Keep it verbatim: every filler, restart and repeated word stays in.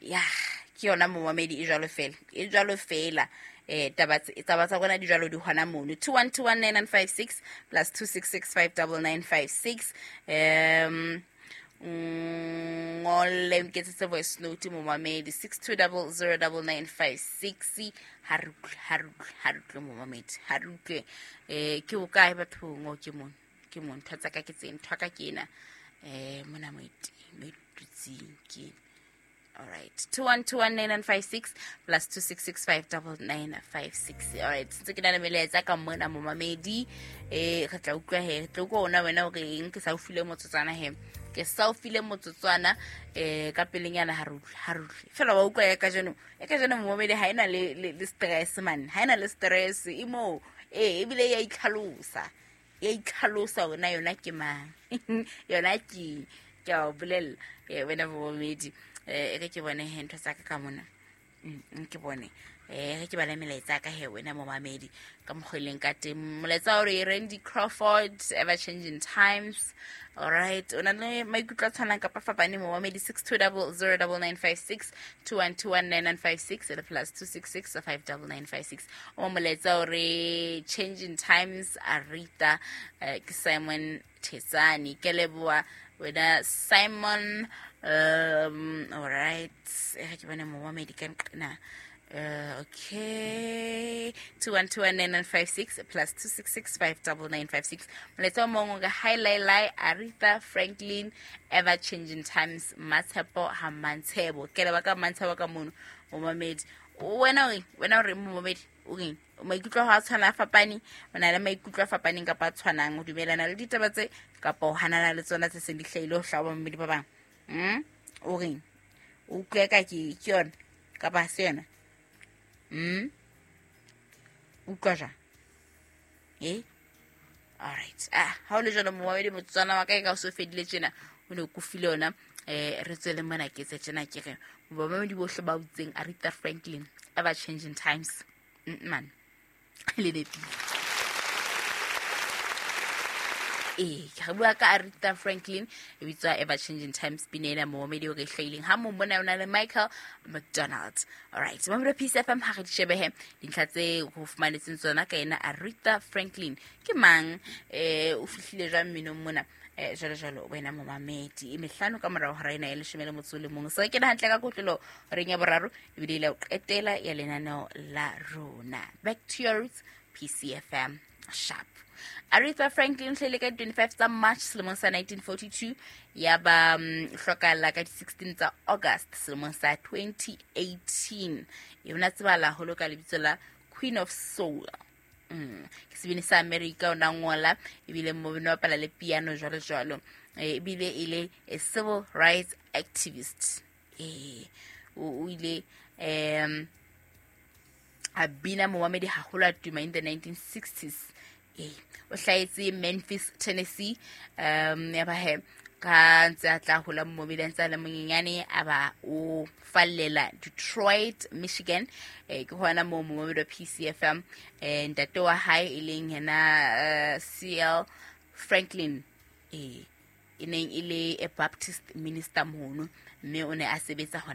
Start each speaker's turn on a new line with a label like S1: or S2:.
S1: Ya, ke yona momamedi, e jwalo fela, e jwalo fela. eh taba taba tsa rona di jwalo, di hona mono. Two one two one nine nine five six plus two six six five double nine five six. um ngolle nketsetse voice note, momamedi, six two double zero double nine five six. Ha re utlwe, ha re utlwe, ha re utlwe, momamedi, ha re utlwe. um ke o kae bathong? O ke mone, ke mone. Ntho tsa ka ke tse, ntho ka ke ena um mona mo e dutseng ke ena. Alright, two one two one nine nine five six plus two six six five double nine five six. Alright, ntse ke na le melaetsa ka mona, momamedi. eh re tla utlwa he, re tla utlwa ona wena o reng. Ke sa o file motsotswana he, ke sa o file motsotswana eh ka pelenyana. Ha re utlwe, ha re utlwe fela. Wa utlwa ya kajeno, ya kajeno, momamedi, ha ena le le le stress man, ha ena le stress e mo eh ebile ya itlhalosa, ya itlhalosa hore na yona ke mang, yona ke ke a o bolella eh wena momamedi. eh re ke bone he ntho tsa ka ka mona. Mm, ke bone eh re ke bale melaetsa ka he, wena momamedi, ka mokgwa e leng ka teng. Molaetsa o re Randy Crawford, "Ever Changing Times". Alright, o na le maikutlo a tshwanang kapa fapaneng, momamedi? Six two double zero double nine five six, two one two one nine nine five six le plus two six six five double nine five six. O molaetsa o re "Changing Times", Aretha. eh, ke Simon Thetsane, ke leboha wena Simon. um alright, eh ke bone momamedi ka nqena. Uh, okay, two one two one nine nine five six plus two six six five double nine five six. Molaetsa o mongwe ka hi lai, Aretha Franklin, "Ever Changing Times", Matshepo ha Mantshebo. Ke leba ka Mantshebo ka mono, momamedi. Wena o reng? Wena o reng, momamedi? O reng? Maikutlo a hao a tshwana, a fapane? O na le maikutlo a fapaneng kapa a tshwanang? O dumelana le ditaba tse kapa o hanana le tsona tse seng di hlahile ho hlaha bamamedi ba bang? mm? O reng? O utlwe ka ke ke yona kapa ha se yona? mm? Utlwa jwang e? Alright, ah, ha o le jalo, momamedi, motsotswana wa ka e ka o so fedile tjena, o ne o kofile yona. um re tswele mona, ke tse tjena, ke re bamamedi bohle ba utseng Aretha Franklin, "Ever Changing Times", Mm, man, le nepile. Ee, ke re bua ka Aretha Franklin, e bitswa "Ever Changing Times", pina ena, momamedi, o re hlahileng ha mong mona o na le Michael McDonald. Alright, mamedi wa Peace F M, ha re di shebehe dintlha tse ho fumanetseng tsona ka ena Aretha Franklin. Ke mang? um o fihlile jwang mminong mona, um jwalo jwalo, wena momamedi? E mehlano ka morao hora ena ya leshome le motso o le mong. Se re kena hantle ka kotlolo horeng ya boraro, ebile ile ya ho qetela ya lenaneo la rona, Back to Your Roots, P C F M sharp. Aretha Franklin hlahile ka twenty-five tsa March selemong sa nineteen forty-two, ya ba um, hlokahala ka di-sixteen tsa August selemong sa twenty eighteen. Yona tsebala haholo ka lebitso la Queen of Soul. mm. ke sebini sa America, o na ngola ebile mmino, bapala le piano, jwalo jwalo. Eh, ebile e le a civil rights activist. Eh o o ile um a bina, momamedi, haholo, a tuma in the nineteen sixties. Ee, o hlahetse Memphis, Tennessee. um ya ba he ka ntse a tla hola, momamedi, a ntse a le monyenyane, a ba o fallela Detroit, Michigan. eh, ke hona moo, momamedi wa P C F M, eh, ntate wa hae e leng yena uh, C L Franklin, eh e neng e le a Baptist minister mono, mme o ne a sebetsa hona.